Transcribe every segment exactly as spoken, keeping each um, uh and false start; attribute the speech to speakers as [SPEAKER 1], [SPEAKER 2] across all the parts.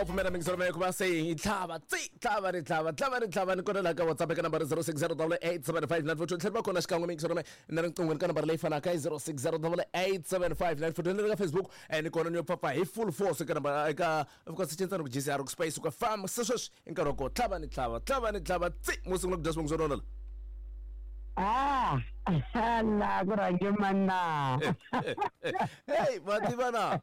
[SPEAKER 1] Pfumela mingiselo ma ku va se hi tlhava tsi tlhava ri tlhava tlhava ri tlhava ni kona laha ka WhatsApp eka nambara zero six zero double eight seven five nine four two tlhela va kona xikan'we mingiselo ma na riqinghweni ka nambara leyi fanaka i zero six zero double eight seven five nine four two ni le ka Facebook eh, ni kona ni yo pfapfa hi full force eka nambara eka of course cincana ku G C R ku space ku fam se sweswi i nkarhi wa ko tlhava ni tlhava tlhava ni tlhava tsi mo sungula ku dya swivongo swo nona la.
[SPEAKER 2] Ah, la ku rhange mana.
[SPEAKER 1] Hey, va tiva na.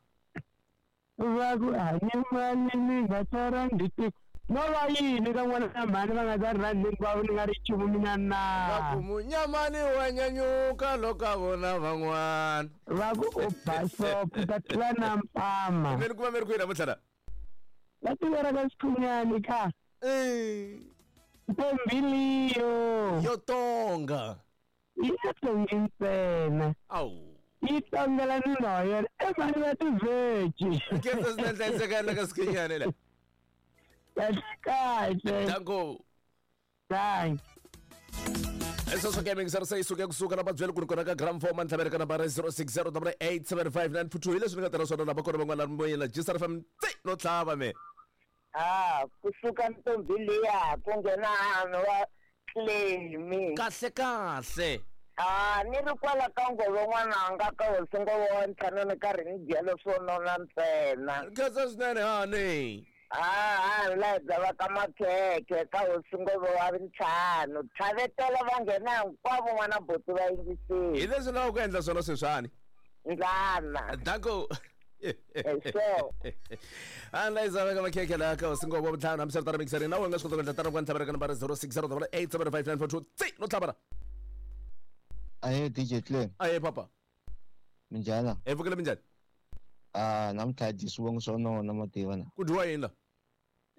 [SPEAKER 2] Va ku hanye mali ni nga ta rhandzi tiko. No va yini ka n'wana na mhani va nga ta rhandzi hinkwavo ni nga ri nchumu mina na.
[SPEAKER 1] Va ku munyamani wa nyanyuka loko a vona van'wana.
[SPEAKER 2] Va ku u basopo ta tlula na mpama.
[SPEAKER 1] Mi ni kuma mi ri kwihi namuntlha la?
[SPEAKER 2] Va tivera ka Xikhumnyani ka.
[SPEAKER 1] Eh.
[SPEAKER 2] Ntombi liyo.
[SPEAKER 1] Yo tonga.
[SPEAKER 2] Yi nga tongi ntsena.
[SPEAKER 1] Awu.
[SPEAKER 2] Yi tongela nuna wa yena e mhani va tivheji.
[SPEAKER 1] Khensa swinene hlayiseka la ka Xikhumnyani la.
[SPEAKER 2] Kahle kahle.
[SPEAKER 1] Danko.
[SPEAKER 2] Thanks.
[SPEAKER 1] Eso ke mingiselo se yi suke kusuka na vabyeli ku ri kona ka gram four mantlhavele ka nambara zero six zero double eight seven five nine four two hi leswi ni nga tirha swona lava kona van'wana moyeni G C R F M tsi no tlhava me.
[SPEAKER 3] Ah, kusuka ntombi liya ku nghena hanhu wa Clemi.
[SPEAKER 1] Kahle kahle.
[SPEAKER 3] Ah, ni ri kwala ka ngove n'wananga ka hosi ngove wa ntlhanu ni karhi ni dya leswo nona ntsena.
[SPEAKER 1] Khensa swinene hani.
[SPEAKER 3] Ah, ah, la hi va ka makhekhe ka hosi ngove wa ntlhanu. Tlhavetela va nghena hinkwavo n'wana buti va yingisile.
[SPEAKER 1] Hi leswi lavaka ku endla swona sweswiwani.
[SPEAKER 3] Ndlana.
[SPEAKER 1] Danko.
[SPEAKER 3] So.
[SPEAKER 1] Anlayisa veka makhekhe laha ka hosi ngove wa ntlhanu hambi swi ri tano mingiseri na wena nga swi kota ku endla tano ku ntlhavela ka nambara zero six zero double eight seven five nine four two tsi no tlhavela.
[SPEAKER 4] Ahe D J Clem.
[SPEAKER 1] Ahe papa.
[SPEAKER 4] Minjhani?
[SPEAKER 1] Hi pfukile minjhani?
[SPEAKER 4] Ah, namuntlha hi dyi swivongo swo nona mativa na.
[SPEAKER 1] Ku dyiwa yini la?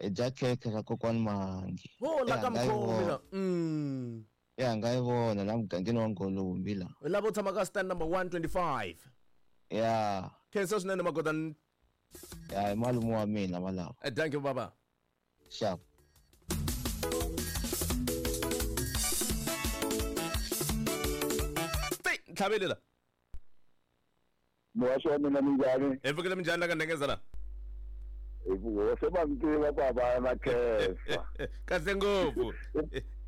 [SPEAKER 4] Hi dya khekhe ra kokwani Mahangi.
[SPEAKER 1] Ho la ka mkhomi la. Mm.
[SPEAKER 4] Ya nga yi vona la mugangeni wa Ngolombi la.
[SPEAKER 1] Lava u tshama ka stand number one twenty-five.
[SPEAKER 4] Ya.
[SPEAKER 1] Khensa swinene magoda.
[SPEAKER 4] Ya hi malume wa mina malawa.
[SPEAKER 1] Eh, thank you baba.
[SPEAKER 4] Sharp.
[SPEAKER 1] Tlhavele la.
[SPEAKER 5] Muhaxi wa mina minjhani?
[SPEAKER 1] Hi pfukile minjhani la ka Ndengeza la?
[SPEAKER 5] Hi pfuke se va mi tiva ku hava na khensa.
[SPEAKER 1] Kahle ngopfu.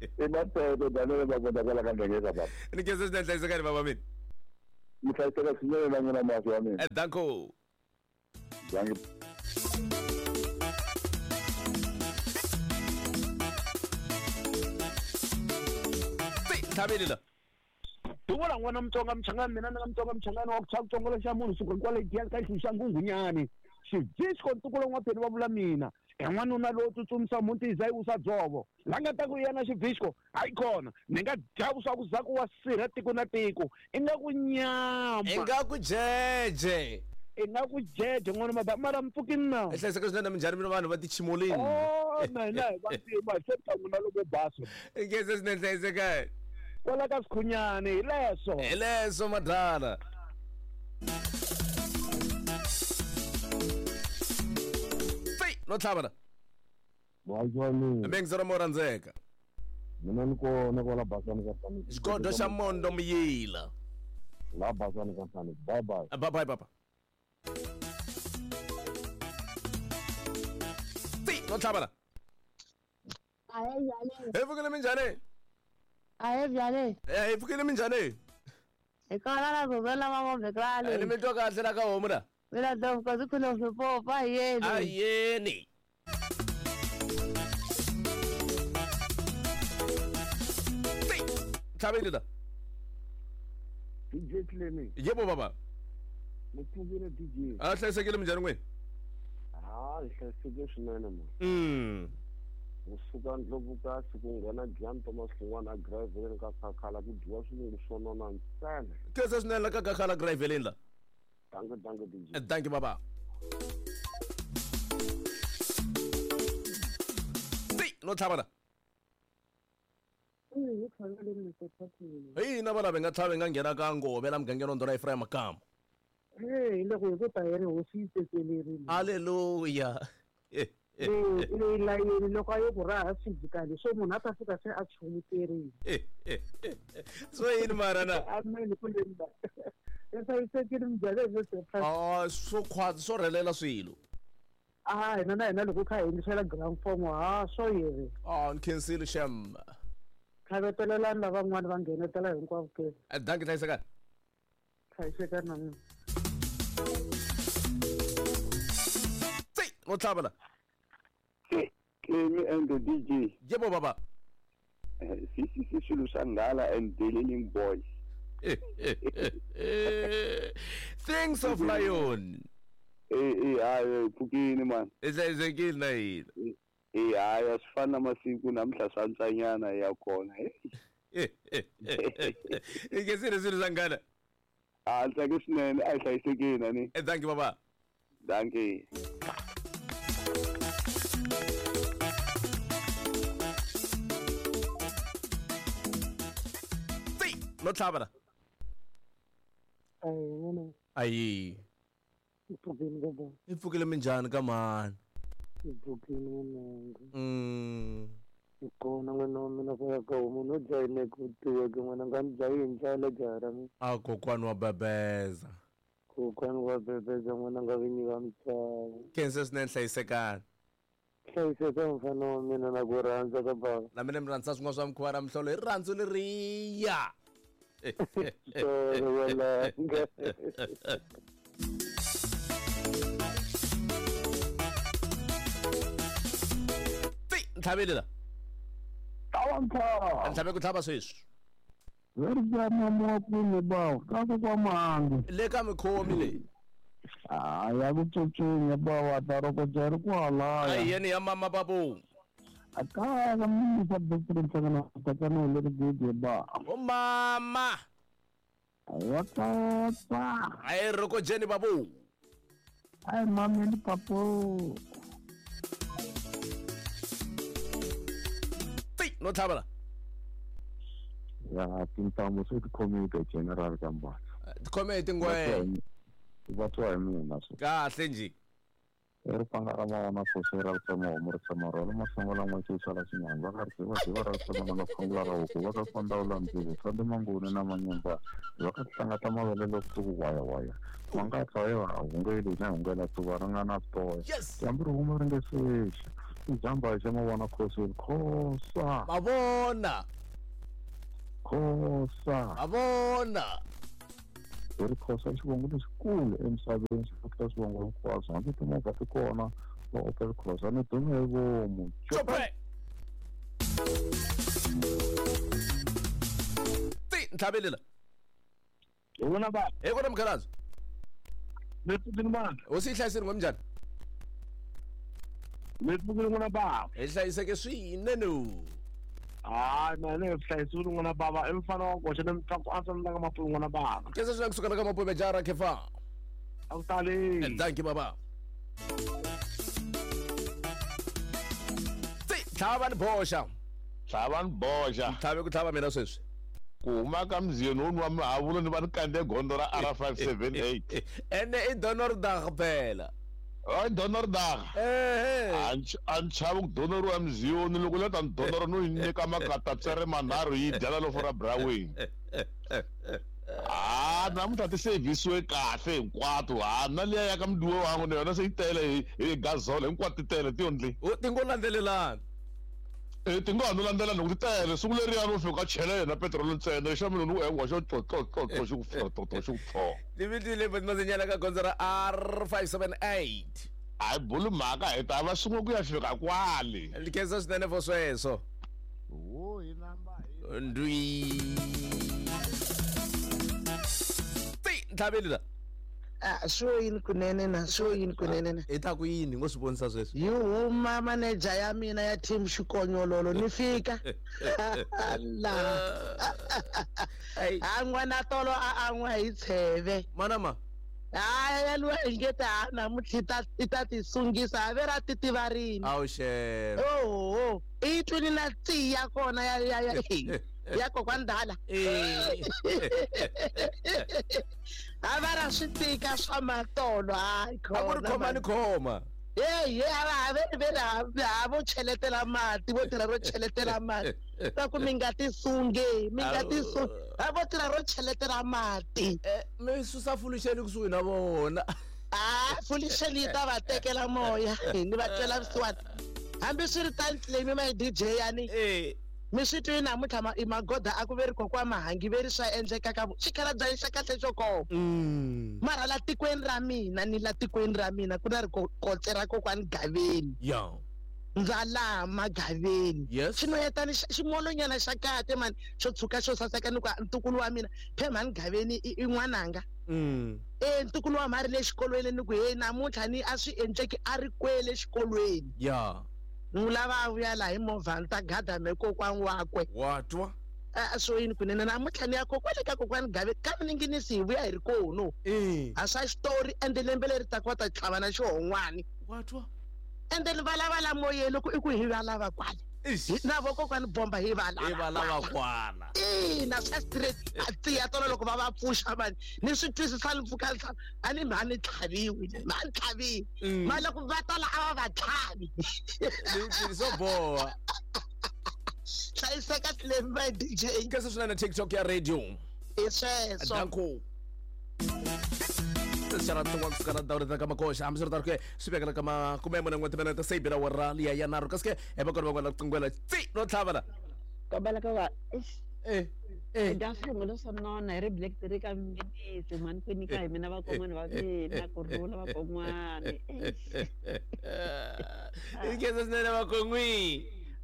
[SPEAKER 5] I Mapeto Daniel Mavunda kwala ka Ndengeza baba.
[SPEAKER 1] Ni khensa swinene hlayisekani baba mina.
[SPEAKER 5] Mi hlayiseka swinene na n'wina muhaxi wa mina.
[SPEAKER 1] Eh, danko.
[SPEAKER 5] Danko.
[SPEAKER 1] Tlhavele la.
[SPEAKER 6] Duvula n'wana Mutsonga Mchangani mina ni nga Mutsonga Mchangani wa ku chava tsongo xa munhu suka kwale giyani ka xihlu xa Nghunghunyani. Xivhisco ntukulu n'wapheni va vula mina. I n'wanuna lowo tsutsumisa muti hi za yi wisa dzovo. La nga ta ku yena xivhisco hayi kona ni nga dya vuswa ku za ku wa sirha tiko na tiko. I nga ku nyama.
[SPEAKER 1] I nga ku jeje.
[SPEAKER 6] I nga ku jeje n'wana maba mara mpfukini na.
[SPEAKER 1] I hlayiseka swinene minjhani mina vanhu va tichimoleni.
[SPEAKER 6] Oh na hina hi vantima se ta n'wina loko basa.
[SPEAKER 1] I khensa swinene hlayiseka.
[SPEAKER 6] Kwala ka Xikhumnyani hi leswo.
[SPEAKER 1] Hi leswo madala. Tsi no tlhava la.
[SPEAKER 5] Muhaxi wa mina.
[SPEAKER 1] Mingiselo mo rhandzeka.
[SPEAKER 5] Mina ni kona kwala Basani ka Saniki.
[SPEAKER 1] Xigodo xa Mondo Muyila.
[SPEAKER 5] La Basani ka Saniki. Bye bye.
[SPEAKER 1] Bye bye papa. Tsi no tlhava la.
[SPEAKER 7] Ahe njhani?
[SPEAKER 1] Hi pfukile minjhani?
[SPEAKER 7] Ahe njhani?
[SPEAKER 1] Eh, hi pfukile minjhani?
[SPEAKER 7] Hi kona la Gugela va Mobekani.
[SPEAKER 1] Ni mi twa kahle la ka homu la.
[SPEAKER 7] Mina dovho zikhona swipopa yeni.
[SPEAKER 1] Ayeni. Tlhavele la.
[SPEAKER 5] D J Clemi.
[SPEAKER 1] Yebo baba.
[SPEAKER 5] Mi pfukile D J.
[SPEAKER 1] A hlayisekile minjhani n'wini?
[SPEAKER 5] Ah, hi hlayisekile swinene mo.
[SPEAKER 1] Mm.
[SPEAKER 5] Kusuka Ndlovukasi ku nghena Giyani Thomas Hlongwane a Graveleni ka Khakhala ku dyiwa swivongo swo nona ntsena.
[SPEAKER 1] Khensa swinene la ka Khakhala Graveleni la.
[SPEAKER 5] Danko danko D J.
[SPEAKER 1] Thank you baba. Tsi no tlhava la. Hi na va lava nga tlhava nga nghena ka Ngove la mugangeni wa Ndhuna Ephraim Makamu.
[SPEAKER 2] Hey, loko hi ku ta yena hosi yi tsetelerile.
[SPEAKER 1] Hallelujah.
[SPEAKER 2] Leyi layeni loko a yo ku raha physically so munhu a ta fika se a chumuterile.
[SPEAKER 1] So yini mara na?
[SPEAKER 2] Amen ku le nda. I hlayisekile minjhani
[SPEAKER 1] Ah, swo khwatsi swo rhelela swilo.
[SPEAKER 2] A hina na hina loko kha hi yingisela gramophone ha swo yini.
[SPEAKER 1] Oh, ni khensile shem.
[SPEAKER 2] Khavetelelani lavan'wana va nghenetela hinkwavo ke.
[SPEAKER 1] Dankie hlayisekani.
[SPEAKER 2] Hlayisekani na mina.
[SPEAKER 1] Tsi, no tlhava la.
[SPEAKER 8] Clemi and the D J.
[SPEAKER 1] Yebo baba.
[SPEAKER 8] C C C swilo swa nghala and the Learning Boys.
[SPEAKER 1] Things of Lion.
[SPEAKER 8] Eh eh hayi pfukini man.
[SPEAKER 1] I hlayisekile na yini?
[SPEAKER 8] Eh hayi a swi fani na masiku namuntlha swa ntsanyana ya kona.
[SPEAKER 1] I khensile swilo swa nghala.
[SPEAKER 8] A ni tsake swinene a hi hlayisekile ani.
[SPEAKER 1] Thank you baba.
[SPEAKER 8] Dankie.
[SPEAKER 1] No tlhava la. Ayi. I pfukile minjhani ka mhani?
[SPEAKER 2] I pfukile n'wananga.
[SPEAKER 1] Mm.
[SPEAKER 2] I kona n'wana wa mina ku ya ka homu no dya ku tiweke n'wananga ni dya yini ndlala jaha ra mina.
[SPEAKER 1] A kokwani wa bebeza.
[SPEAKER 2] Kokwani wa bebeza n'wananga vinyi va misava.
[SPEAKER 1] Khensa swinene hlayisekani.
[SPEAKER 2] Hlayiseka mfana wa mina na ku rhandza ka baba.
[SPEAKER 1] Na mina mi rhandza swin'wana swa mikhuva ra mihlolo hi rirhandzu leriya. Tsi, ntlhaveli la.
[SPEAKER 9] Tlhava
[SPEAKER 1] Ntlhave ku tlhava sweswi.
[SPEAKER 9] Veri bya mama kwini bawo ka ku kwa mangu.
[SPEAKER 1] Le ka mikhomi leyi.
[SPEAKER 9] Ah ya ku tsotsunya bawo ta roko jari kwalaya.
[SPEAKER 1] Ai yeni ya mama babu.
[SPEAKER 9] Akaya ka mimi sa best na tatana le ri gidi ba.
[SPEAKER 1] O mama.
[SPEAKER 9] Wa tata.
[SPEAKER 1] Ai roko jeni babu.
[SPEAKER 9] Ai mama ni papo.
[SPEAKER 1] Tsi, no tlhava la.
[SPEAKER 10] Ya tintambu se ti khome ka general ka mbatha.
[SPEAKER 1] Ti khome hi tingwe.
[SPEAKER 10] Va twa hi mina swo.
[SPEAKER 1] Kahle njhe.
[SPEAKER 10] I ripanga ra mavona khosi ra ritsema homu ritsema rhwala masango lan'we sala xinyanga va ka ri va tiva ra ritsema nga khongela ra huku va ka fandawula ndzivo swa manguni na manyumba va ka hlangata mavele loko ku waya waya ma nga tla ya hungeli na hungela tuva ri nga na toya dyambu ri huma ri nge sexa i jamba xa mavona khosi khosa
[SPEAKER 1] mavona
[SPEAKER 10] khosa
[SPEAKER 1] mavona
[SPEAKER 10] hi ri khosa xivongo lexikulu emisaveni xi tlula swivongo hinkwaswo hambi timovha ti kona va Opel Corsa ni dume hi vomu
[SPEAKER 1] Chope Tsi ntlhaveli la.
[SPEAKER 9] Hi vona ba.
[SPEAKER 1] Hi kona mukhalabye.
[SPEAKER 9] Mi pfukile mani.
[SPEAKER 1] Hosi yi hlayisile n'we minjhani?
[SPEAKER 9] Mi pfukile n'wana baba.
[SPEAKER 1] Hi hlayiseke swinene.
[SPEAKER 9] Hayi mina ni hlayisiwile n'wana baba i mfana wa koxa ni mutlangu a tsandza ka mapume n'wana baba.
[SPEAKER 1] Khensa swinene kusuka ka mapume jara khefa.
[SPEAKER 9] A ku tali.
[SPEAKER 1] Thank you baba. Tsi, tlhava ni boxa.
[SPEAKER 11] Tlhava ni boxa.
[SPEAKER 1] Tlhave ku tlhava mina sweswi.
[SPEAKER 11] Ku huma ka mziyeni wo nwa mihavulo ni va ni kandze gondzo ra R five seven eight.
[SPEAKER 1] Ene i Donordag phela.
[SPEAKER 11] Hayi Donordag.
[SPEAKER 1] Eh.
[SPEAKER 11] A ni chavi ku donoriwa mziyoni loko la ta ni donora no yi nyika makatatsere manharhu yi dya la lofo ra Braweni. Ah, namuntlha ti sevhisiwe kahle hinkwato. Ha na liya ya ka mudiwe wangu na yona se yi tele hi gazolo hinkwato ti tele ti yondli.
[SPEAKER 1] Ti ngo landzelelana.
[SPEAKER 11] Eh ti ngo ha no landzela loko ti tele siku leriya no fika chela yena petrol ntsena xa mina ni engwa xo tlo tlo tlo tlo xi ku pfo tlo tlo xi ku pfo.
[SPEAKER 1] Ni vitile mazinyana ka gondzo ra R five seven eight.
[SPEAKER 11] A hi buli mhaka hi ta va swin'we ku ya fika kwale.
[SPEAKER 1] Ni khensa swinene for sweswo.
[SPEAKER 11] Wo hi namba
[SPEAKER 1] hi ndwi. Tsi ntlhaveli la.
[SPEAKER 12] Ah, swo yini kunene na swo yini kunene na.
[SPEAKER 1] I ta ku yini ngo swi vonisa sweswi?
[SPEAKER 12] Yi huma manager ya mina ya team Xikonyololo ni fika. La. A n'wana tolo a an'wa hi tsheve.
[SPEAKER 1] Manama.
[SPEAKER 12] Hayi yaliwa hi nge ta namuntlha ta i ta ti sungisa a ve ra titivarini.
[SPEAKER 1] Awu xero.
[SPEAKER 12] Oho, i twini na tsi ya kona ya ya ya ya kokwani Dala. A va ra swi tika swa matolo hayi
[SPEAKER 1] A ku ri khoma ni khoma.
[SPEAKER 12] Hey, hey, a va ve ve ha vo cheletela mati vo tirha ro cheletela mati ta ku mi nga ti sunge mi nga ti sunge a vo tirha ro cheletela mati.
[SPEAKER 1] Mi susa fuluxeni kusuhi na vona.
[SPEAKER 12] A fulisheni yi ta va tekela moya ni va twela vusiwana hambiswiritano Tlemi my D J yani mi swi twi namuntlha ma i magoda a ku veri kokwa mahangi veri swa endleka ka xikhalabya xa kahle xo koma mara la tikweni ra mina ni la tikweni ra mina ku na ri kotse ra kokwani Gaveni
[SPEAKER 1] ya
[SPEAKER 12] ndza laha Magaveni xinoyetani ximolonyana xa kahle mani xo tshuka xo saseka ni ku ntukulu wa mina phe mhani Gaveni i n'wananga e ntukulu wa mhari le xikolweni ni ku hey namuntlha ni a swi endleki a ri kwele xikolweni
[SPEAKER 1] ya
[SPEAKER 12] n'wi lava a vuya laha hi movha ni ta gada me kokwani wakwe
[SPEAKER 1] wa twa
[SPEAKER 12] a swo yini kunene namuntlha ni ya kokwale ka kokwani Gaveni ka mininginisi hi vuya hi ri kono a swa xitori ende lembe leri taka va ta tlhava na xihon'wani
[SPEAKER 1] wa twa
[SPEAKER 12] ende ni valava la moyeni loko i ku hi valava kwala na vo kokwani bomba hi valava
[SPEAKER 1] hi valava kwala
[SPEAKER 12] ina swa straight a tiya tolo loko va va pfuxa mani ni swi twisisa ni pfuka ni a ni mhani tlhaviwi mhani tlhaviwi mara loko va tala a va va tlhavi
[SPEAKER 1] swo boha
[SPEAKER 12] hlayiseka Tlemi my D J
[SPEAKER 1] kasi swinene TikTok ya radio
[SPEAKER 12] i sweswo
[SPEAKER 1] danko xana tin'wana kusuka na ndhawu leti ka makoxa hambiswiritano ke swi vekela ka makume mune n'we timinete se yi bela wara liya ya nharhu kasi ke hi va kona van'wana qinghwela tsi no tlhava la
[SPEAKER 13] kombela ka va
[SPEAKER 1] eh eh
[SPEAKER 13] dya swingo leswo nona hi ri black three ka minisi mhani ku nyika hi mina vakon'wana va mina ku rhula vakon'wana
[SPEAKER 1] i khensa swinene vakon'wi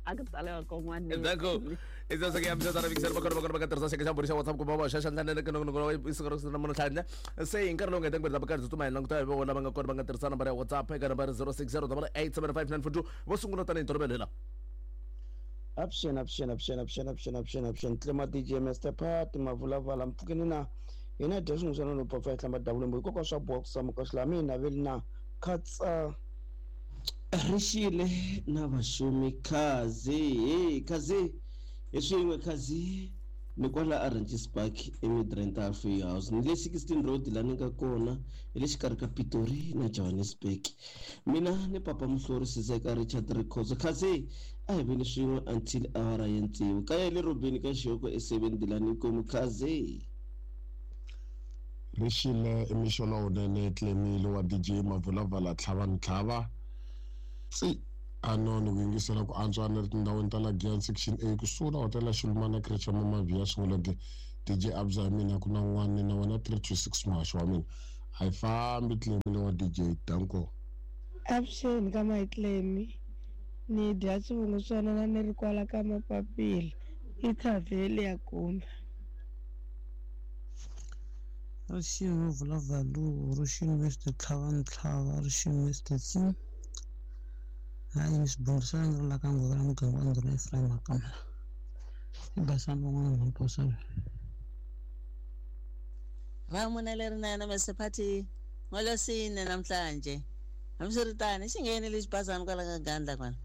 [SPEAKER 13] a ku tala vakon'wana
[SPEAKER 1] danko Isa sa kaya msa tara bikser bakor bakor bakar tersa xa xa WhatsApp ku baba xa xa ndlela ke no no isiko ro na munhu tlhanya se hi nkarhi lowu nga tengwe bakar tsutsuma hi languta hi vona va nga kona va nga tirhisa nambara ya WhatsApp eka nambara zero six zero eight seven five nine four two vo sungula tanihi ntolovelo hi la
[SPEAKER 14] Option option option option option option option Tlema D J Mister Pat mavulavala mpfukeni na hina dya swin'we swa no pfa hlamba dabule mbo hikokwalaho swa boha ku samuka swi la mina veli na khatsa
[SPEAKER 15] rixile na vaxumi khazi hey khazi hi swin'we khazi ni kwala Orange Park eMidrand Halfway House ni le sixteen Road la ni nga kona hi le xikarhi ka Pitori na Johannesburg mina ni papa Muhlori Sizeka Richard Rikhozo khazi a hi veni swin'we until awara ya tsevu kaya le Robeni ka Xiyoko e seven dilani inkomu khazi
[SPEAKER 16] rixile i mixo lowunene Tlemile wa D J Mavulavala tlhava ni tlhava tsi ano ni ku yingisela ku antswa ni ri tindhawini ta la Giyani section A kusuhi na hotela Xilumana creche ya Mamaviya sunguleke D J Abza hi mina ku na n'wana na wena three two six muhaxi wa mina a yi fambi Tlemile wa D J danko
[SPEAKER 17] Avuxeni ka Mayitlemi ni dya swivungu swona na ni ri kwala ka mapapila i thavheli ya kumbe
[SPEAKER 18] Rixini Vulavalo rixini Mister Tlhava Ntlhava rixini Mister Tsi hayi ni swibombisana ni ri la ka nghozi ra muganga wa ndhuna Ephraim Makamela i basani van'wana mhani Posani
[SPEAKER 19] Vamuna lerinene Mister Phathi ngolosine namhlanje hambiswiritano xi nghenile xibazana kwala ka Gandla kwala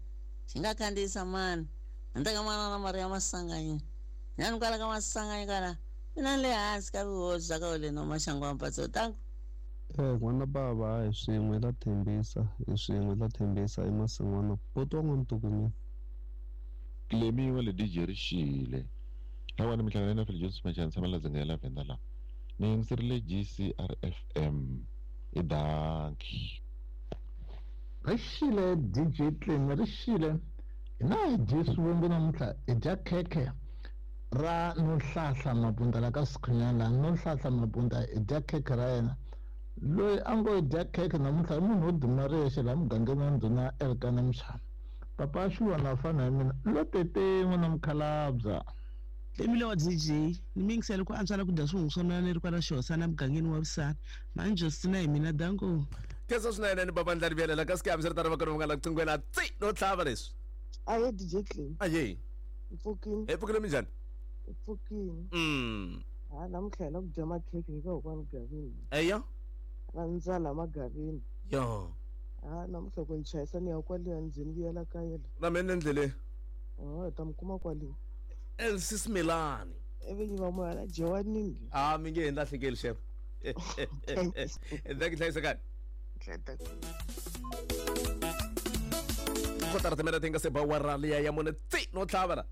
[SPEAKER 19] xi nga khandziyisa mani handle ka manana Maria Masanganyi nyani kwala ka Masanganyi kwala mina ni le hansi ka vuhosi bya ka Oleno Maxangu wa Mpatso tanku
[SPEAKER 20] Eh n'wana bava hi swin'we la thembisa hi swin'we la thembisa i masin'wana poto wa n'wantuku
[SPEAKER 21] Tlemi wa le D J rixile lawani minhlangano na Phil Jones Machana tshama la dzinga ya Lavenda la ni yingiserile G C R F M i danki
[SPEAKER 22] Rixile D J Tlemi rixile hina hi dye swivungu namuntlha hi dya khekhe ra Nonhlahla Mabunda la ka Sikhunyana Nonhlahla Mabunda hi dya khekhe ra yena loyi a ngo dya khekhe namuntlha i munhu wo duma riyexe laha mugangeni wa ndhuna Elkana Mshana papa Xiwana fana hi mina lo tete n'wana mukhalabya
[SPEAKER 18] Tlemile wa D J ni mi yingisele ku antswa la ku dya swivungu swa mina ni ri kwala Xihosana mugangeni wa Vusana mhani Justina hi mina danko
[SPEAKER 1] khensa swinene ni baba ndlari vuyelela kasi ke hambiswiritano va kona va nga la qinghwela tsi no tlhava leswi
[SPEAKER 23] Ahe D J Tlemi
[SPEAKER 1] aye
[SPEAKER 23] mpfukini
[SPEAKER 1] hi pfukile minjhani
[SPEAKER 23] mpfukini
[SPEAKER 1] mm
[SPEAKER 23] ha namuntlha hi la ku dya makhekhe hi ka kokwani Gavini
[SPEAKER 1] eya
[SPEAKER 23] ra ndzala Magaveni
[SPEAKER 1] ya
[SPEAKER 23] ha namuntlha ku ni chayisa ni ya kwaliya ndzeni vuyela kaya la
[SPEAKER 1] na mina endleleni
[SPEAKER 23] oh hi ta mi kuma kwale
[SPEAKER 1] Elsie Simelane
[SPEAKER 23] evinyi va moya la dyiwaningi
[SPEAKER 1] a mi nge he lahlekeli xef thank you hlayisekani kotara timere ti nga se ba wara liya ya mune tsi no tlhava la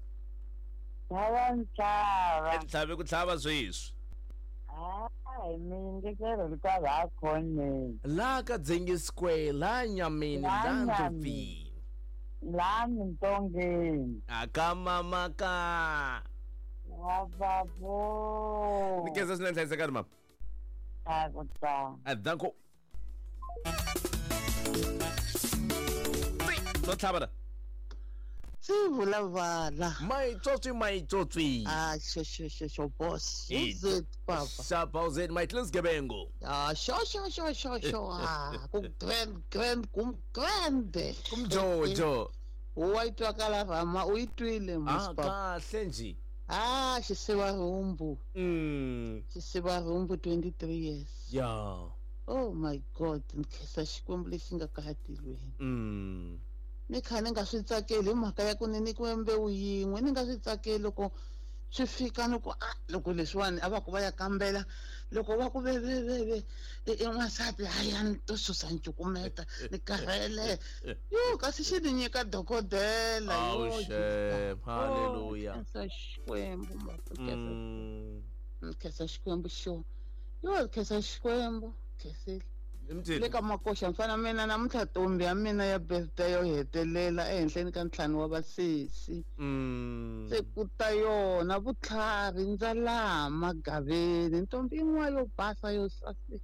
[SPEAKER 3] Tlhava ntlhava
[SPEAKER 1] ntlhavi ku tlhava sweswi
[SPEAKER 3] Hayi mi kwala khoneni.
[SPEAKER 1] La ka Dzengi Square, la Nyameni,
[SPEAKER 3] La
[SPEAKER 1] la
[SPEAKER 3] Nyameni.
[SPEAKER 1] Ndlopfini.
[SPEAKER 3] La Mintongeni.
[SPEAKER 1] Aka mama ka.
[SPEAKER 3] Ababo.
[SPEAKER 1] Ni khensa swinene hlayisekani mama.
[SPEAKER 3] A ku ta.
[SPEAKER 1] A danko. No tlhava la.
[SPEAKER 12] Sivulavala.
[SPEAKER 1] Maitsotsi maitsotsi.
[SPEAKER 12] Ah, sho sho sho sho boss.
[SPEAKER 1] Eh,
[SPEAKER 12] Who's it, papa?
[SPEAKER 1] Sharp how's it my Gebengo.
[SPEAKER 12] Ah, sho sho sho sho sho. Ah, ku grand grand kum grand.
[SPEAKER 1] Kumjojo.
[SPEAKER 12] Wa itwakala rama u itwile
[SPEAKER 1] Ah,
[SPEAKER 12] mos papa.
[SPEAKER 1] kahle nje.
[SPEAKER 12] Ah, xisiva rhumbu.
[SPEAKER 1] Mm.
[SPEAKER 12] Xisiva rhumbu twenty-three years.
[SPEAKER 1] Yeah.
[SPEAKER 12] Oh my God, nkhensa Xikwembu lexi nga kaya tilweni.
[SPEAKER 1] Mm.
[SPEAKER 12] Ni kha ni nga swi tsakeli hi mhaka ya ku ni nyikiwe mbewu yin'we ni nga swi tsakeli loko swi fika ni ku ah loko leswiwani a va ku va ya kambela loko va ku ve ve ve ve i n'wansati hayi ni to susa ncukumeta ni karhele yo kasi xi ni nyika dokodela
[SPEAKER 1] Oh,
[SPEAKER 12] yo
[SPEAKER 1] shame. Hallelujah.
[SPEAKER 12] Khensa Xikwembu
[SPEAKER 1] Mm.
[SPEAKER 12] Khensa Xikwembu xo yo khensa Xikwembu khensile
[SPEAKER 1] Mthini.
[SPEAKER 12] le ka makoxa mfana mina namuntlha ntombi ya mina ya birthday yo hetelela ehenhleni ka ntlhanu wa vasesi
[SPEAKER 1] Mm.
[SPEAKER 12] se ku ta yona vutlhari ndza laha magaveni ntombi yin'wana yo basa yo saseka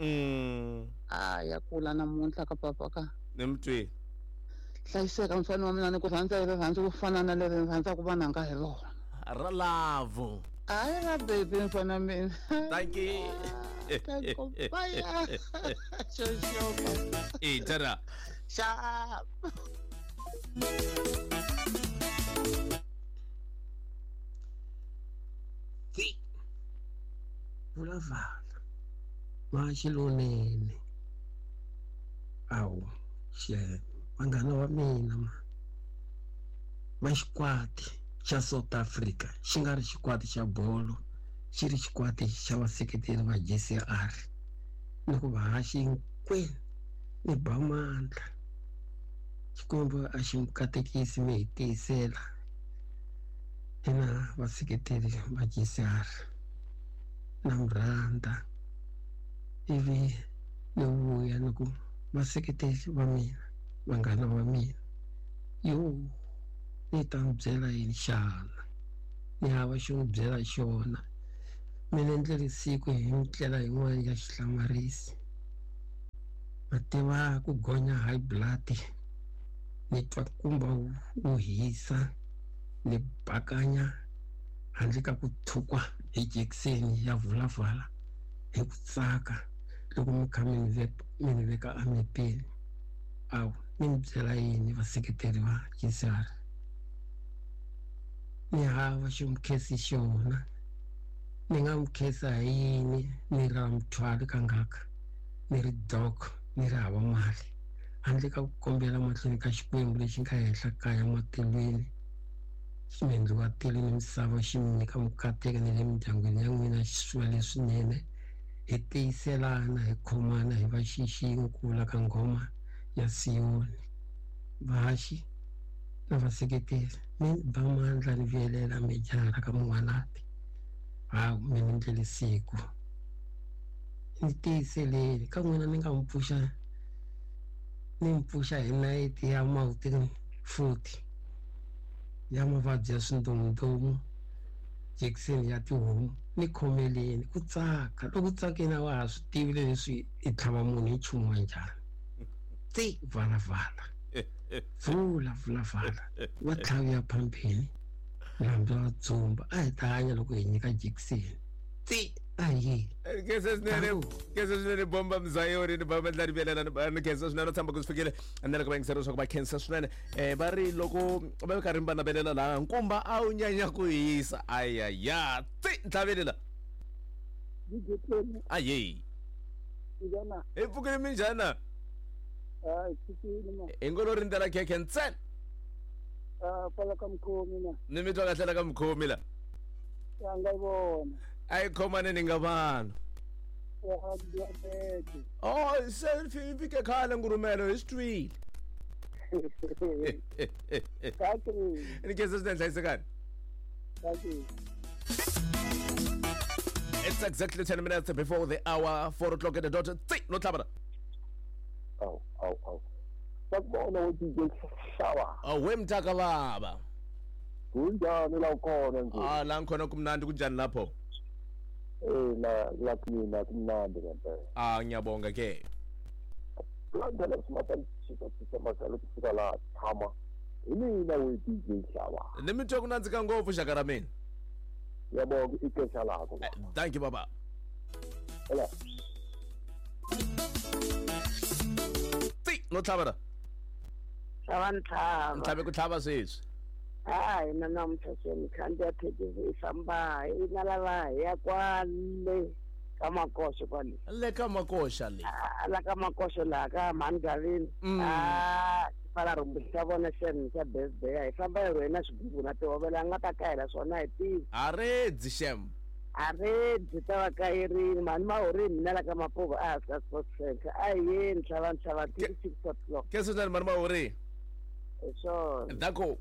[SPEAKER 1] Mm.
[SPEAKER 12] a ya kula namuntlha ka papa ka
[SPEAKER 1] Ni mtwi.
[SPEAKER 12] hlayiseka mfana wa mina ni ku rhandza hi rirhandzu ku fana na leri ni rhandzaka vananga hi rona
[SPEAKER 1] Ra lavo.
[SPEAKER 12] hayi ra baby mfana mina
[SPEAKER 1] Thank you.
[SPEAKER 12] Bye. Xo xo
[SPEAKER 1] Eh, tara.
[SPEAKER 12] Sharp.
[SPEAKER 4] Vulavala maxilonene awu xe vanghana va mina ma va xikwati xa South Africa xi nga ri xikwati xa bolo xi ri xikwati xa vaseketeri va G C R ni ku va haxi hinkwenu ni ba mandla Xikwembu a xi mi katekisi mi hi tiyisela hina vaseketeri va G C R na mi rhandza ivi ni vuya ni ku vaseketeri va mina vanghana va mina yo ni ta mi byela yini xana ni hava xo mi byela xona mina ndlele siku hi ndlela yin'wana ya xihlamarisi ma tiva ku gonya high blood ni twa nkumba wu wu hisa ni bakanya handle ka ku thukwa hi jekiseni ya vulavala hi ku tsaka loko mi kha mi ni veka mi ni veka emepeni awu ni mi byela yini vaseketeri va G C R ni hava xo mi khensi xona ni nga mi khensa hi yini ni ri muthwali kangaka ni ri dog ni ri hava mali handle ka ku kombela mahlweni ka Xikwembu lexi nga henhla kaya matilweni ximendlu wa tilo ni misava xi mi nyika mikateko ni le mindyangwini ya n'wina xi swi leswinene hi tiyiselana hi khomana hi va xixin'we ku vula ka nghoma ya Siyoni vahaxi na vaseketeri mi ba mandla ni vuyelela mijara ka mun'wanati hawu mi ni ndlele siku ni tiyiseleni ka n'wina ni nga mi pfuxa ni mi pfuxa hi nayiti ya mawutini futhi ya mavabyi ya swindomundomu jekiseni ya tihomu ni khomeleni ku tsaka loko tsakeni a wa ha swi tivi leswi i tlhava munhu hi nchumu wa njhani tsi valavala vula vulavala va tlhaviya phambeni hambi va dzumba a hi ta hanya loko hi nyika jekiseni tsi a hi
[SPEAKER 1] Khensa swinene khensa swinene bomba mzayoni ni bomba ndla rivelela ni khensa swinene tshamba ku swi fikile ni loko va yingisela leswaku va khensa swinene eh va ri loko va karhi va navelela laha nkumba a wu nyanya ku hisa ayaya tsi ntlhavelela aye hi pfukile minjhana hi ngo lo rindzela khekhe ntsena
[SPEAKER 6] kwala ka mukhomi na
[SPEAKER 1] ni mi twa kahle la ka mukhomi la
[SPEAKER 6] ya nga vona
[SPEAKER 1] a yi khomane ni nga vanhu oh se fi fike khale ngurumelo hi swi twile ni khensa swinene hlayisekani It's exactly ten minutes before the hour, four o'clock at the dot. Tsi, no tlhabana.
[SPEAKER 5] Aw, aw, aw. Sakubona we D J Hlaba.
[SPEAKER 1] Awe mtaka baba.
[SPEAKER 5] Kunjani la ukhona nje?
[SPEAKER 1] Ah, la ngikhona kumnandi, kunjani lapho?
[SPEAKER 5] Eh, la la kumina kumnandi ngempela.
[SPEAKER 1] Ah, ngiyabonga ke.
[SPEAKER 5] Landela simatshisa sisa masalo kufika la thama. Mina we D J Hlaba.
[SPEAKER 1] Nimitwa kunanzika ngopfu xaka ra mina.
[SPEAKER 5] Ngiyabonga ikesha lakho.
[SPEAKER 1] Thank you baba.
[SPEAKER 5] Hello.
[SPEAKER 1] Tsi, no tlhabana.
[SPEAKER 7] Tlhaba ntlhaba.
[SPEAKER 1] Ntlhabe ku tlhaba sweswi.
[SPEAKER 7] Hayi na namuntlha se ni khandziya thekisi i famba i na lava hi ya kwale ka Makoxo kwale.
[SPEAKER 1] Le ka Makoxa le.
[SPEAKER 7] La ka Makoxo laha ka mhani Gavini. Ah, pfala rhumbu xa vona xem xa birthday hi famba hi rhwena swigubu na tihovela a nga ta kahela swona hi tivi.
[SPEAKER 1] A redzi xem.
[SPEAKER 7] A redzi ta va kayerini mhani mahorini mina la ka Mapuva a hansi ka Sports Center a hi yeni ntlhava ntlhava thirty six o'clock.
[SPEAKER 1] Ke sweswi mhani mahori.
[SPEAKER 7] Hi swona.
[SPEAKER 1] Dako.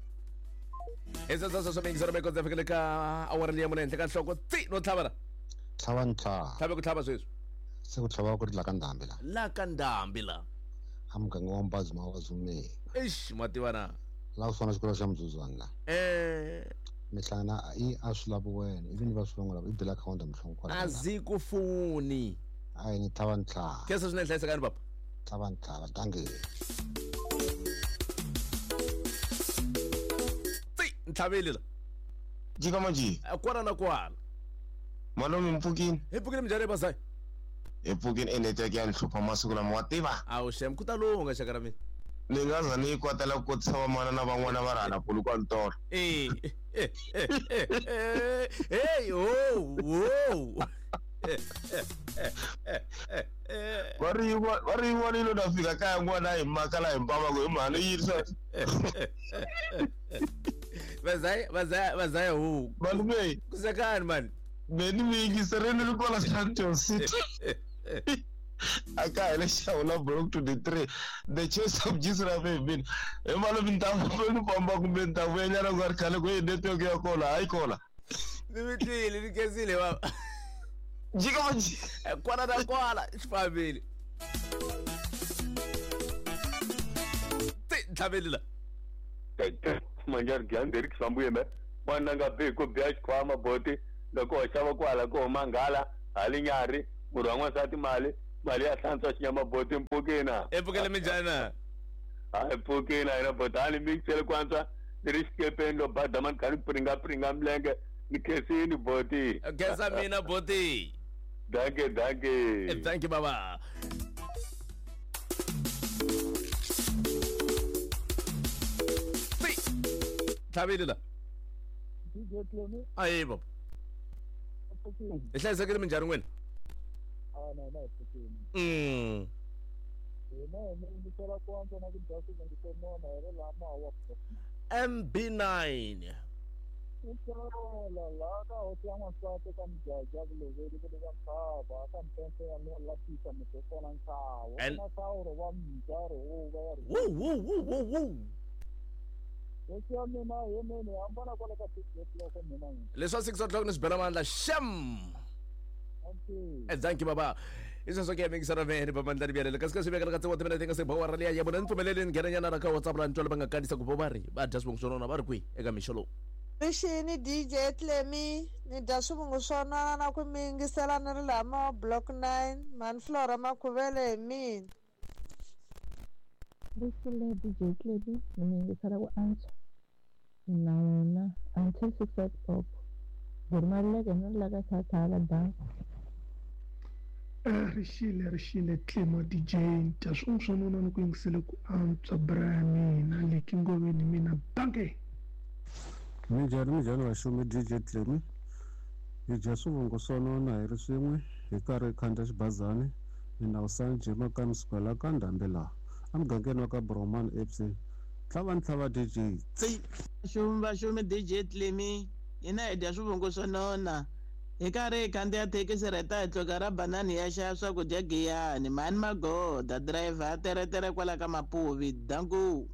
[SPEAKER 1] Esasasa swa mingizero meko ndzi fikele ka awara leyi ya mune henhla ka nhloko tsi no tlhavana.
[SPEAKER 8] Tlhava ntlhava.
[SPEAKER 1] Tlhave ku tlhava sweswi.
[SPEAKER 8] Se ku tlhava ku ri la ka ndhambi la.
[SPEAKER 1] La ka ndhambi la.
[SPEAKER 8] A muganga wa Mbazi ma wa Zumeni.
[SPEAKER 1] Eish mativa na.
[SPEAKER 8] La ku swana xikolo xa Mzuzwana la.
[SPEAKER 1] Eh.
[SPEAKER 8] Mihlangana i a swi lavi wena ivi ni va swi lava i bela akhawunti mhlongo kwala.
[SPEAKER 1] Azikufuni.
[SPEAKER 8] Hayi ni tlhava ntlhava.
[SPEAKER 1] Ke sweswi ni hlayisekani papa.
[SPEAKER 8] Tlhava ntlhava dankie.
[SPEAKER 1] Ntlhaveli la.
[SPEAKER 24] Jika manje.
[SPEAKER 1] Kwala na kwala.
[SPEAKER 24] Malume mpfukini.
[SPEAKER 1] Hi pfukile minjhani bazai?
[SPEAKER 24] Hi pfukini e network ya nhlupha masiku lama wa tiva.
[SPEAKER 1] Awu xem ku ta lunga xaka ra mina.
[SPEAKER 24] Ni nga za ni yi kwatela ku kotisa van'wana na van'wana va rhana buluku ntolo.
[SPEAKER 1] Eh. Hey, oh, oh.
[SPEAKER 24] Va ri va ri yin'wana na fika kaya n'wana hi makala hi mpava ku hi mhani yi yirisa.
[SPEAKER 1] Bazai, bazai, bazai hu.
[SPEAKER 24] Malume.
[SPEAKER 1] Kusekani man.
[SPEAKER 24] Beni mi yingiserini ri kwala Sandton City. Aka le xawula block to the three. The chase of Jesus Rabbi. E malume ni ta ni famba kumbe ni ta vuya ku ri khale ku yi network ya kona hayi kona.
[SPEAKER 1] Ni mi twile ni khensile baba.
[SPEAKER 24] Jika manje.
[SPEAKER 1] Kwala na kwala xifambile. Tsi ntlhaveli la.
[SPEAKER 25] Manjari gyandzeri kisambuye me n'wana nga bi ku biya xikhwama boti loko ho xava kwala ko huma nghala halinyari murhi wa n'wansati mali mali ya hlantswa xinyama boti mpfukina
[SPEAKER 1] epfukele minjhani
[SPEAKER 25] hayi mpfukina yena boti a ni mikisele ku antswa ni ri xikepeni lo badama ni kha ni pringapriga milenge ni khensini boti
[SPEAKER 1] khensa mina boti
[SPEAKER 25] danke danke
[SPEAKER 1] thank you baba. Tlhaveli la. Ayi baba. Hi hlayisekile minjhani n'wina? Mm. M B nine. And woo woo woo woo woo. Leswa six o'clock ni swi bela mandla xem. Thank you baba. Iseswo ke mingisana vene bamandla byalele kasi ka swi vekela ka tsewa timinete nga se bawara liya ya vona ni pfumeleli ni nghenanyana ra ka WhatsApp la ni twela va nga kanisa ku va ri va dya swivongo swa nona va ri kwihi eka mixo lowu.
[SPEAKER 26] Rixini D J Clemi ni dya swivongo swa nona na ku mi yingisela ni ri lama block nine mhani Flora Makhuvele hi mina.
[SPEAKER 27] Rixile D J Clemi ni mi yingisela ku antswa na n'wina until six o'clock Gurmaleke ni ri la ka Thathala danko.
[SPEAKER 28] Rixile rixile Clemo D J dya swivongo swa nona ni ku yingisele ku antswa bra ya mina leki ngoveni mina danke.
[SPEAKER 20] Minjhani minjhani vaxumi D J Clemi hi dya swivongo swa nona hi ri swin'we hi karhi hi khandziya xibazani mina Usanje Makani sukela ka ndhambi laha emugangeni wa ka Broman F C tlhava ntlhava D J tsi.
[SPEAKER 29] Vaxumi vaxumi D J Clemi hina hi dya swivongo swa nona hi karhi hi khandziya thekisi rheta hi tluka ra banani ya xava swakudya Giyani mhani Magoda driver a teretere kwala ka Mapuvi danku.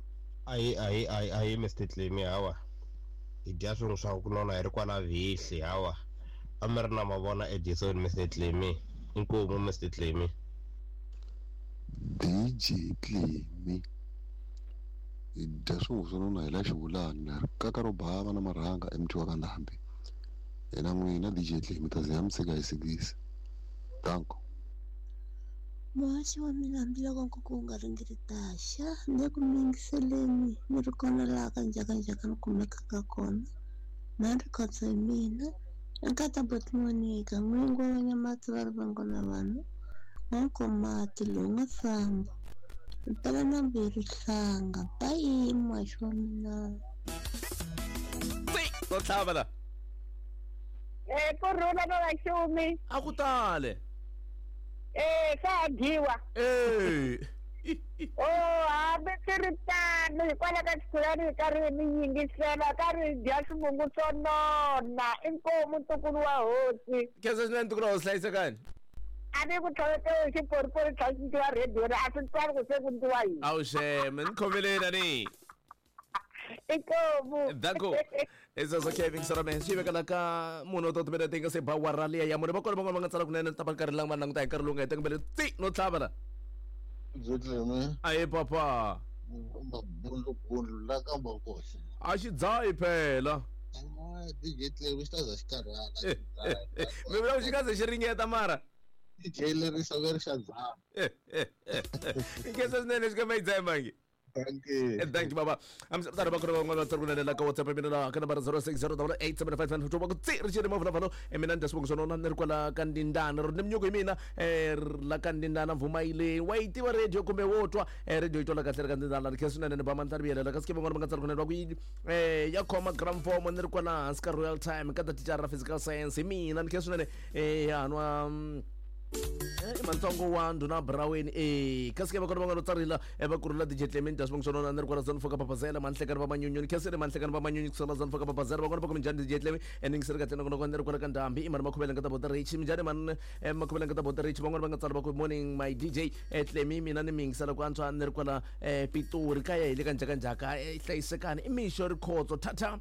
[SPEAKER 30] Ayi ayi ayi ayi Mister Clemi hawa hi dya swin'we swa ku nona hi ri kwala Vihli hawa
[SPEAKER 2] A mi ri na mavona Edison Mister Clemi. Inkomu Mister Clemi.
[SPEAKER 8] D J Clemi. Hi dya swivungu swo nona hi la xivulani kaka ro bava na marhanga emutini wa ka Ndhambi. Hina n'wina D J Clemi ta ze ya mi tshika hi sikisi. Danko.
[SPEAKER 9] Muhaxi wa mina hambiloko nkuku wu nga ringeti taxa ni ku mi yingiseleni ni ri kona laha ka njhakanjhaka ni kumekaka kona na ri khotso hi mina nkata boti Monica n'wingi wa Nyamatsi va ri vango na vanhu n'wankomati lowu nga famba mpela na mbirhi hlanga bayi muhaxi wa mina.
[SPEAKER 1] To tlhava la.
[SPEAKER 3] Eh ku rhula na vaxumi.
[SPEAKER 1] A ku tale.
[SPEAKER 3] Eh swa dyiwa.
[SPEAKER 1] Eh.
[SPEAKER 3] Oh hambi swi ri tano hikwalaho ka xikhulani hi karhi mi yingisela karhi hi dya swivungu swo nona inkomu ntukulu wa hosi.
[SPEAKER 1] Khensa swinene ntukulu wa hosi hlayisekani.
[SPEAKER 3] A ni ku tlhovetele xiporipori xa cinciwa rediyo a swi twali ku se ku ndliwa yini.
[SPEAKER 1] Awu xeme ni khomeleni ani.
[SPEAKER 3] Inkomu.
[SPEAKER 1] Danko. Eso okay vingisela me swi veka la ka munhu to timele tinga se ba wa rali ya munhu va kona van'wana va nga tsala kunene ta va nkarhi lama languta hi nkarhi lowu nga heta kumbe tsi no tlhava la.
[SPEAKER 22] Byi
[SPEAKER 1] Aye papa.
[SPEAKER 22] Mabundlubundlu la ka makosi.
[SPEAKER 1] A xi dzahi phela.
[SPEAKER 22] D J Clemi xi ta za xi karhala.
[SPEAKER 1] Mi vula ku xi nga ze xi ringeta mara.
[SPEAKER 22] D J lerisa ve ri xa dzaha.
[SPEAKER 1] Nkhensa swinene xi ka ma yi dzahi mangi.
[SPEAKER 22] Thank you.
[SPEAKER 1] Thank you baba. Am tara ba kona van'wana va tsari kunene la ka WhatsApp mina la ka nambara zero six zero double eight seven five nine two va ku tsi ri xiri mavulavalo e mina ni dya swivongo swa nona ni ri kwala ka Ndindana ri ni minyuku hi mina eh la ka Ndindana Vumayile wa yi tiva radio kumbe wo twa eh radio yi twala kahle ri ka Ndindana ri khensa swinene ni ba mandla ri vuyelela kasi ke van'wana va nga tsari kunene va ku yi eh ya khoma gramfomo ni ri kwala hansi ka Royal Time ka thicara ra physical science hi mina ni khensa swinene eh ya nwa eh mantsongo wa ndhuna Braweni eh kasi ke va kona van'wana tsarila va kurula D J Clement dya swivongo swa nona ni ri kwala zone four ka Papazela manhlekani va manyunyuni khensile manhlekani va manyunyu kusala zone four ka Papazela van'wana va ku minjhani D J Clement eningiseri kahle nongonoko ni ri kwala ka Ndhambi i mani makhuvele nga ta bota rich minjhani mani makhuvele nga ta bota rich van'wana va nga tsala va ku morning my D J Clemi mina ni mi yingisela ku antswa ni ri kwala Pitori kaya hi le ka njhakanjhaka hlayisekani i mixo rikhotso thatha.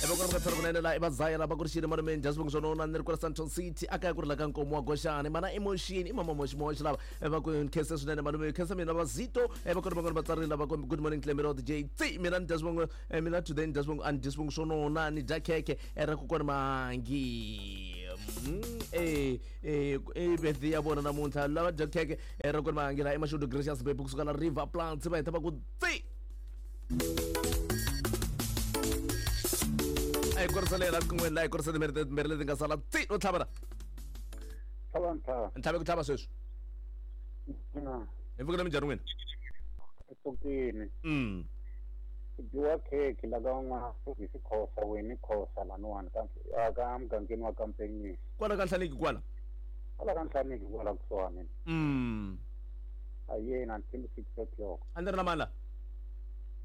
[SPEAKER 1] Eva kona tsara kunene la eva zaya la va ku ri xile malume dya swivongo swa nona ni ri kwala Sandton City a kaya ku ri la ka Nkomo wa Goxani mana emotion i mama moxi moxi lava va ku khensa swinene malume khensa mina va Zito va kona van'wana va tsarile va ku good morning Clemi D J tsi mina ni dya swivongo mina today ni dya swivongo a ni dyi swivongo swo nona ni dya khekhe ra ku kona mangi eh eh eh birthday ya vona namuntlha lava dya khekhe ra kona mangi la emashudu Gracious baby kusuka la River Plants va heta va ku tsi ai korsalela kun'we la korsa timbirhi timbirhi leti nga sala tsi no tlhava la
[SPEAKER 6] tlhava ntlhava
[SPEAKER 1] ntlhave ku tlhava sweswi hi pfukile minjhani n'wina
[SPEAKER 6] i pfukile
[SPEAKER 1] mm
[SPEAKER 6] ku dyiwa khekhe la ka n'wana hi xikhosa wena khosa laniwani ka ka mugangeni wa Kampenyisi
[SPEAKER 1] kwala ka Nhlaniki kwala
[SPEAKER 6] kwala ka Nhlaniki kwala kusuhani
[SPEAKER 1] mm
[SPEAKER 6] a yena until six o'clock
[SPEAKER 1] a ni ri na mani la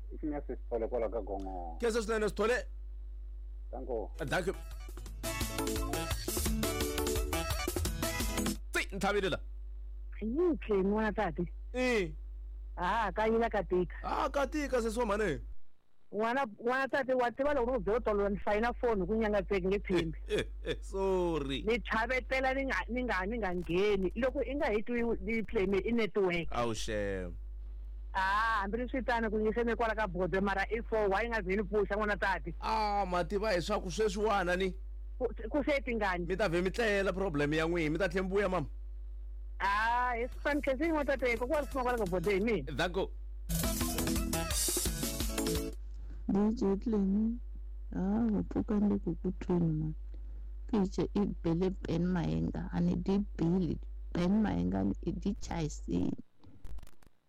[SPEAKER 6] i xi nga se Sithole kwala ka Gongo
[SPEAKER 1] khensa swinene Sithole.
[SPEAKER 6] Danko.
[SPEAKER 1] Danko. Tsi nthavile la.
[SPEAKER 10] Yi Clemi n'wana tati.
[SPEAKER 1] Eh.
[SPEAKER 10] Ah, ka yila ka tika.
[SPEAKER 1] Ah, ka tika sesi wa mhani.
[SPEAKER 10] N'wana n'wana tati wa tiva loko ni ku byela tolo ni fayina foni ku nyangatseki nge tshembi.
[SPEAKER 1] Sorry.
[SPEAKER 10] Ni tlhavetela ni nga ni nga ni nga ngheni loko i nga hi twi ni Clemi i network.
[SPEAKER 1] Awu xem.
[SPEAKER 10] Ah, hambi swi tano ku nyiseni kwala ka bode mara i four why nga zini pfuxa n'wana tati.
[SPEAKER 1] Ah, mativa hi swa ku sweswiwana ni.
[SPEAKER 10] Ku se tingani.
[SPEAKER 1] Mi ta vhe mi tlela problem ya n'wina mi ta tlhe mi vuya mama.
[SPEAKER 10] Ah, hi swi fani khensi n'wana tati ko kwala kwala ka bode hi mina.
[SPEAKER 1] Danko.
[SPEAKER 27] D J Clemi ah wa pfuka ni ku ku tweni man. Piche i bele Ben Mayenga ani di bili Ben Mayenga i di chayisini.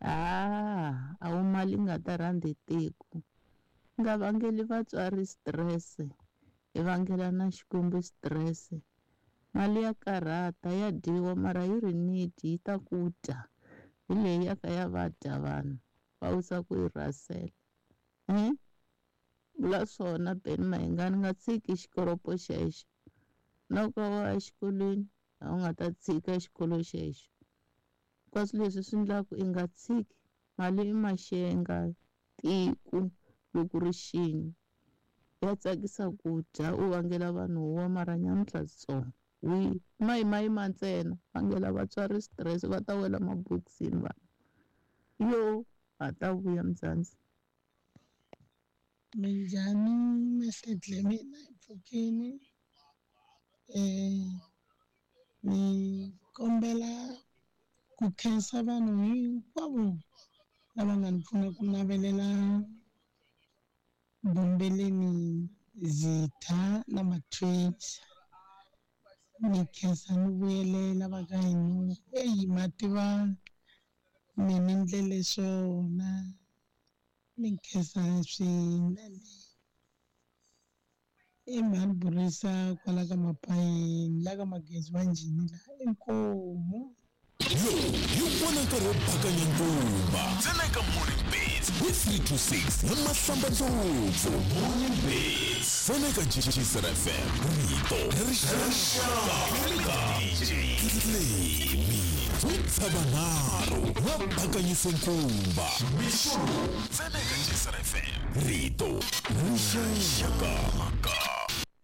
[SPEAKER 27] Ah, a wu mali nga ta rhandzi tiko nga vangeli vatswari stress hi vangela na Xikwembu stress mali ya karhata ya dyiwa mara yi ri need yi ta ku dya hi leyi ya ka ya va dya vanhu va wisa ku yi rhasela eh vula swona Ben Mayengani nga tshiki xikoropo xexo na ku wa exikolweni a wu nga ta tshika xikolo xexo hinkwaswo leswi swi endlaku i nga tshiki mali i maxenga tiko loko ri xini Ya tsakisa ku dya u vangela vanhu huwa mara nyamuntlha switsongo wi ma yimayima ntsena vangela vatswari stress va ta wela mabokisini vanhu yo ha ta vuya Mzansi.
[SPEAKER 11] Minjhani Mister Dlamini hi pfukini ni kombela ku khensa vanhu hinkwavo lava nga ni pfuna ku navelela Bombeleni Zitha na ma-twins. Ni khensa ni vuyelela va ka hina eyi ma tiva mi ni ndlele swona ni khensa swinene. I mhani burisa kwala ka mapayeni la ka magezi wa njhini la inkomu.
[SPEAKER 13] Lowu hi wona nkarhi wo bakanya nkumba ntsena eka Morning Beats hi three to six na Mahlamba Ndlopfu. Morning Beats ntsena eka G G C F M, rito ra rixaka D J Clemi Dzudzavanharhu va bakanyise nkumba mixo ntsena eka G C F M, rito ra rixaka.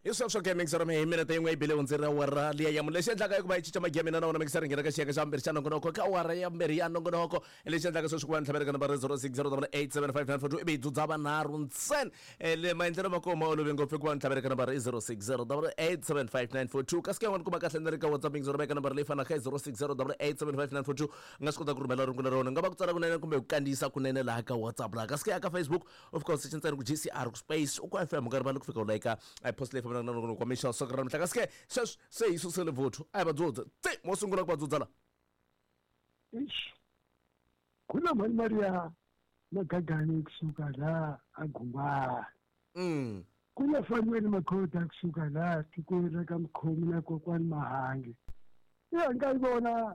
[SPEAKER 1] Hi sweswo ke mixer mi hi minete yin'we yi bile hundzi ra awara liya ya mune. Lexi endlaka i ku va yi cinca magiya mina na wona mixer nghena ka xiyenge xa vumbirhi xa nongonoko ka awara ya vumbirhi ya nongonoko. Lexi endlaka sweswi ku va ni tlhavela ka nambara zero six zero double eight seven five nine four two ivi hi dzudza vanharhu ntsena. Le maendlelo ma kona ma olove ngopfu ku va ni tlhavela ka nambara zero six zero double eight seven five nine four two. Kasi ke yan'wana kuma kahle ni ri ka WhatsApp mixer ka nambara leyi fanaka zero six zero double eight seven five nine four two. U nga swi kota ku rhumela rungula ra wena, nga va ku tsala kunene kumbe ku kandziyisa kunene laha ka WhatsApp laha. Kasi ke ya ka Facebook of course xi ntsena ku G C R ku space u ku F M u nga rivali ku fika u like a post leyi na nongonoko wa mixo swa ra mhla. Kasi ke sweswi se hi susele vuthu a hi va dzudza tse mo sungula ku va dzudza la
[SPEAKER 14] Eish ku na mali mali ya magagani kusuka la a Gungwani
[SPEAKER 1] mm
[SPEAKER 14] ku na Fanuel Makhoda kusuka la tikweni ra ka Mkhomi na kokwani Mahangi ya nga yi vona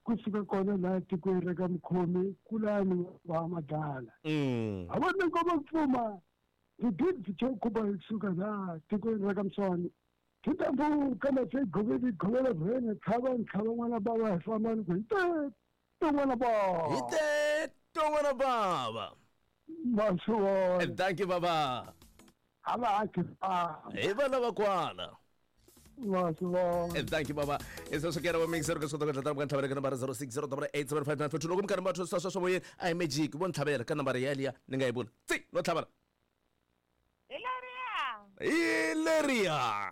[SPEAKER 14] kusuka kona la tikweni ra ka Mkhomi kulani wa Madala
[SPEAKER 1] mm
[SPEAKER 14] a vona ngoma pfuma the kuba kusuka la tikweni ra ka Mswani kitambo kama tse goveli govela vene tlhava ntlhava n'wana baba hi fambani ku hi te to n'wana baba
[SPEAKER 1] hi te to n'wana baba
[SPEAKER 14] ma swi vona.
[SPEAKER 1] Thank you baba
[SPEAKER 14] a va aki
[SPEAKER 1] hi vana va kwala
[SPEAKER 14] ma swi vona.
[SPEAKER 1] Thank you baba. Isoswo ke ra mixer ka swi kota ku ka ntlhavela ka nambara zero six zero double eight seven five nine four two. Loko mi karhi mi va twisisa sweswo moyeni a hi magic vo ntlhavela ka nambara yaliya ni nga yi vula tsi no tlhavela hi leriya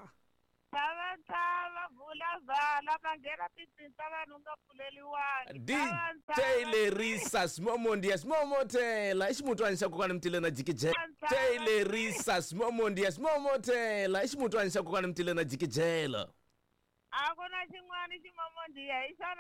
[SPEAKER 3] Tava tava vula vala va nghena tintsini ta vanhu nga pfuleliwangi.
[SPEAKER 1] D J Lerisa Simomondia Simomotela i ximutwani xa kokwana Mtile na Jikijela. J Lerisa Simomondia Simomotela i ximutwani xa kokwana Mtile na Jikijela.
[SPEAKER 3] A ku na xin'wana ximomondia hi xona.